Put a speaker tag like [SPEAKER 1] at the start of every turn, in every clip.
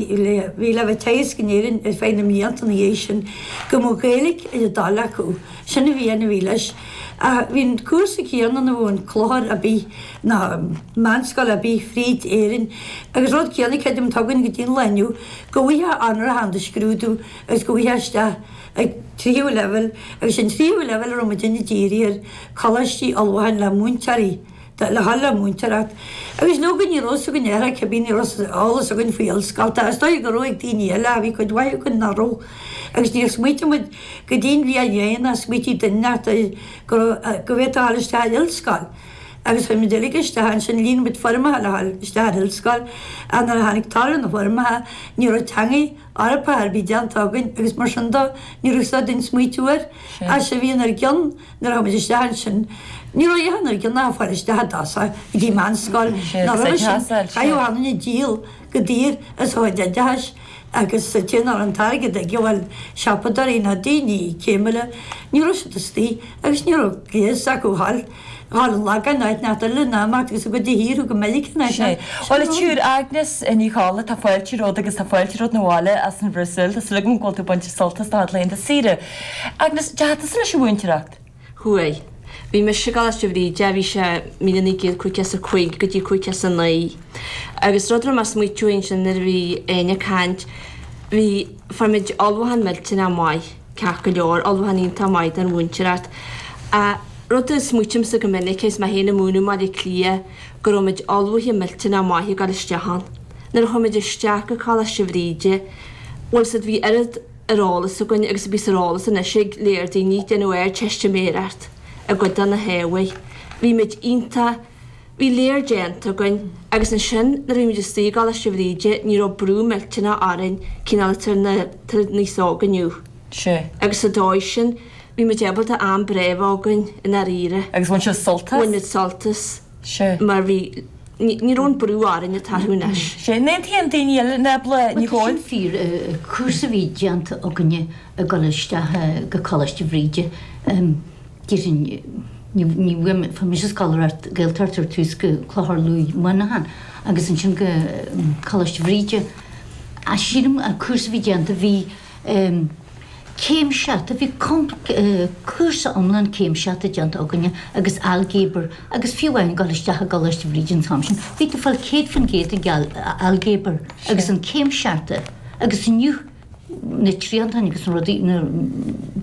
[SPEAKER 1] Bhí le bheith ag teagasc in Éirinn ar feadh na mblianta ina dhiaidh sin, go mbeadh Gaeilge ar a dtoil acu. Sin a bhí ann a bhí leis. Ach bhí an cúrsa céanna ina bhfuil an clochar ar bith ná meánscoil ar bith fríd Éirinn agus rud céanna creidim atá againn go dtí an lá inniu, go bhfaighfeá onóracha do scrúdú agus go bhfaighfeá isteach ag tríú leibhéal agus sin tríú leibhéal a raibh muidinne dírithe air, coláistí ullmhúcháin le múinteoirí. le dhul le múinteoireacht. Agus leoga ní raibh fhios againn ar cibé ní raibh eolas againn faoi ollscolta. Is dóigh go raibh ag daoine eile ach bhí cuid mhaith againn nach raibh. Agus níor smaoitigh muid go dtí an bhliain dheireanach smaoitigh duine inteacht air go raibh go bhféadfá a dhul isteach ar ollscoil. Agus chuir muid uilig isteach ansin líon muid foirmeacha le dhul isteach ar ollscoil ach nuair a tháinig toradh na bhfoirmeacha ní raibh teangaidh Eorpach ar bith déanta againn agus mar sin de ní raibh fhios againn smaoitiú air. Ach sa bhliain dár gcionn Nuair a chuaigh muid isteach ansin, ní raibh a dhath inár gcionn ach fáil isteach i dtosach go dtí meánscoil, ná roimhe sin, chaithfeadh achan duine díol go daor as a chuid oideachais agus an té nach raibh an t-airgead aige, bhuel, siopadóirí ná daoine céimiúla, ní raibh siad istigh agus ní raibh gléas acu a dhul, dhul an Lagáin nó áit inteacht eile ná imeacht agus a gcuid de thír go Meiriceá nó áit
[SPEAKER 2] Sé. Bhuel, a tSiúr Agnes Ní Cholla, tá fáilte romhat agus tá fáilte romhat 'na bhaile as an Bhrasaíl. Tá súil agam go bhfuil tú ag baint sult as do chuid laethanta saoire. Agnes, deachaigh tusa leis an mhúinteoireacht?
[SPEAKER 3] Chuaigh. Bhí mise i gColáiste Bhríde, bhí sé 1955 go dtí 59. Agus rud a raibh mé ag smaoitiú ansin nuair a bhí Áine ag caint, bhí, fuair muid ullmhúchán millteanach maith, ceart go leor, ullmhúchán iontach maith don mhúinteoireacht. Ach rud a smaoitímse go minic is mé féin ag múineadh i mBaile Átha Cliath, go raibh muid ullmhaithe millteanach maith ag dul isteach ann. Nuair a chuaigh muid isteach go Coláiste Bhríde, bhuel, 's bhí oiread, ar eolas againn agus a bíos ar eolas anois ag léir daoine ag déanamh Ardteistiméireacht i gcuid de na hábhair. Bhí muid iontach, bhí léar déanta againn agus ansin nuair a bhí muid istigh i gColáiste Bhríde ní raibh brú millteanach orainn cineál atá ar na níos óga inniu.
[SPEAKER 2] Sea.
[SPEAKER 3] Agus sa dóigh sin bhí muid ábalta am breá a bheith againn i ndáiríre.
[SPEAKER 2] Agus bhain sibh sult as?
[SPEAKER 3] Bhain muid sult as.
[SPEAKER 2] Sea.
[SPEAKER 3] Mar bhí, ní raibh an brú orainn atá orthu anois.
[SPEAKER 2] Sea. An aontaíonn daoine eile, Nábla Ní
[SPEAKER 4] Bhuel, tá
[SPEAKER 2] Ghóil?
[SPEAKER 4] sin fíor. Cúrsa a bhí déanta againne ag dul isteach go Coláiste Bhríde, déarfainn, ní, ní bhfuair mé, fuair mise scoláireacht Gaeltacht ar tús go Clochar Lúith Muineachán agus ansin go Coláiste Bhríde. Ach sílim an cúrsa a bhí déanta, bhí, Céim seachta, bhí cúrsa iomlán céim seachta déanta againne agus ailgéabar agus fiú amháin dul isteach i gColáiste Bhríde an t-am sin, bhí tú ag fáil 100% ag ailgéabar agus an céim seachta agus inniu na triantáin agus na rudaí, na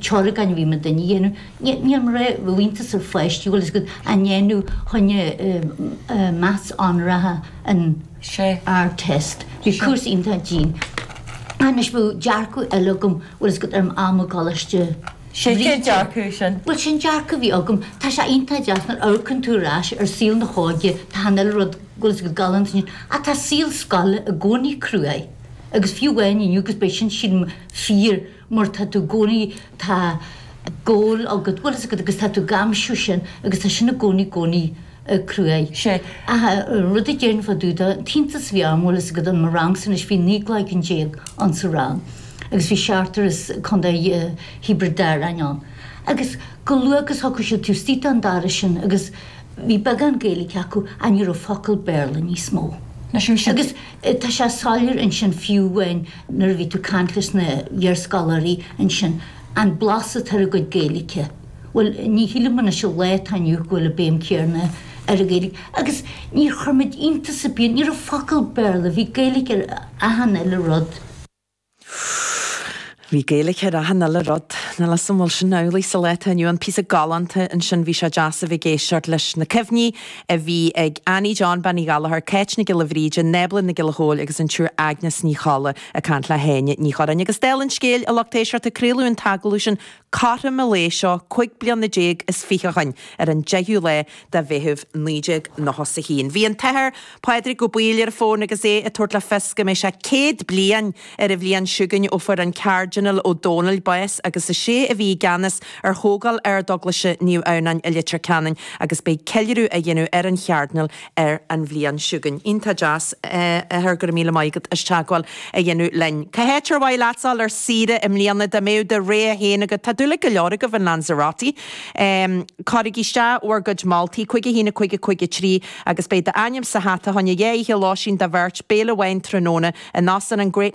[SPEAKER 4] teoiriceáin a bhí muidinne a dhéanamh, níl mé ag rá bheadh iontas ar pháistí, bhfuil fhios agat, á ndéanamh choinne maths onóracha an.
[SPEAKER 2] Sea.
[SPEAKER 4] Ardteist. Bhí cúrsa iontach dian. Anois bheadh dearcadh eile agam, bhfuil fhios agat, ar m'am i gColáiste
[SPEAKER 2] Sé cén
[SPEAKER 4] Bhríde.
[SPEAKER 2] dearcadh sin?
[SPEAKER 4] Bhuel, sin dearcadh a bhí agam. Tá sé iontach deas nuair a amharcann tú ar ais ar saol na hóige, tá achan uile rud, bhfuil fhios agat, galánta ansin. Ach tá saol scoile i gcónaí cruaidh. Agus fiú amháin inniu, agus beidh sin, sílim, fíor, mar tá tú i gcónaí, tá goal agat, bhfuil fhios agat, agus tá tú ag aimsiú sin, agus tá sin i gcónaí, i gcónaí. cruaidh.
[SPEAKER 2] Sé.
[SPEAKER 4] Ach rud a déarfainn fá dtaobh de, an t-iontas a bhí orm, bhfuil fhios agat, in mo rangsa anois, bhí 19 gcloigeann ann sa rang agus bhí seachtar as Contae Thiobraid Árann ann. Agus go luath agus thiocfadh siad taobh istigh den doras sin agus bhí beagán Gaeilge acu ach ní raibh focal Béarla níos mó. Agus tá sé soiléir ansin fiú amháin nuair a bhí tú ag caint leis na hiarscoláirí ansin, an blas atá ar a gcuid Gaeilge. Bhuel, ní shílim anois sa lá atá inniu go bhfuil an béim céarna ar an Ghaeilge. Agus níor chuir muid iontas ar bith, ní raibh focal Béarla, bhí Gaeilge ar achan uile rud.
[SPEAKER 5] Bhí Gaeilge ar achan uile rud. Níl 'fhios an bhfuil sin amhlaidh sa lá atá inniu ann. Píosa galánta ansin, bhí sé deas a bheith ag éisteacht leis na cuimhní a bhí ag Annie John, Bean Uí Ghallchóir, Cáit Nic Giolla Bhríde, Nábla Nic Giolla Chóill agus an tSiúr Agnes Ní Cholla ag caint le hÁine Ní Churráin. Agus dála an scéil, a lucht éisteachta, craoladh an t-agallamh sin Cothrom an lae seo 25 bliana ó shoin, ar an 10ú lá de Mheitheamh 1991. Bhí an tAthair Pádraig Ó Baoill ar an bhfón agus é ag tabhairt le fios go mbeidh sé 100 bliain ar an bhliain seo chugainn ó fuair an Cairdinéal Ó Dónaill bás agus is. Sé a bhí i gceannas ar thógáil Ardeaglaise Naomh Adhamhnáin i Leitir Ceanainn agus beidh ceiliúradh á dhéanamh ar an Chairdinéal ar an bhliain seo chugainn. Iontach deas, a athair, go raibh míle maith agat as teagmháil a dhéanamh linn. Cá háit ar mhaith leatsa dul ar saoire i mbliana dá mbeadh do rogha féin agat? Tá dúil ag go leor agaibh in Lanzarote. Cuirigí isteach bhur gcuid moltaí, 5 1 5 5 3 agus beidh d'ainm sa hata fá choinne dhá oíche lóistín do bheirt, béile amháin tráthnóna in óstán an Great.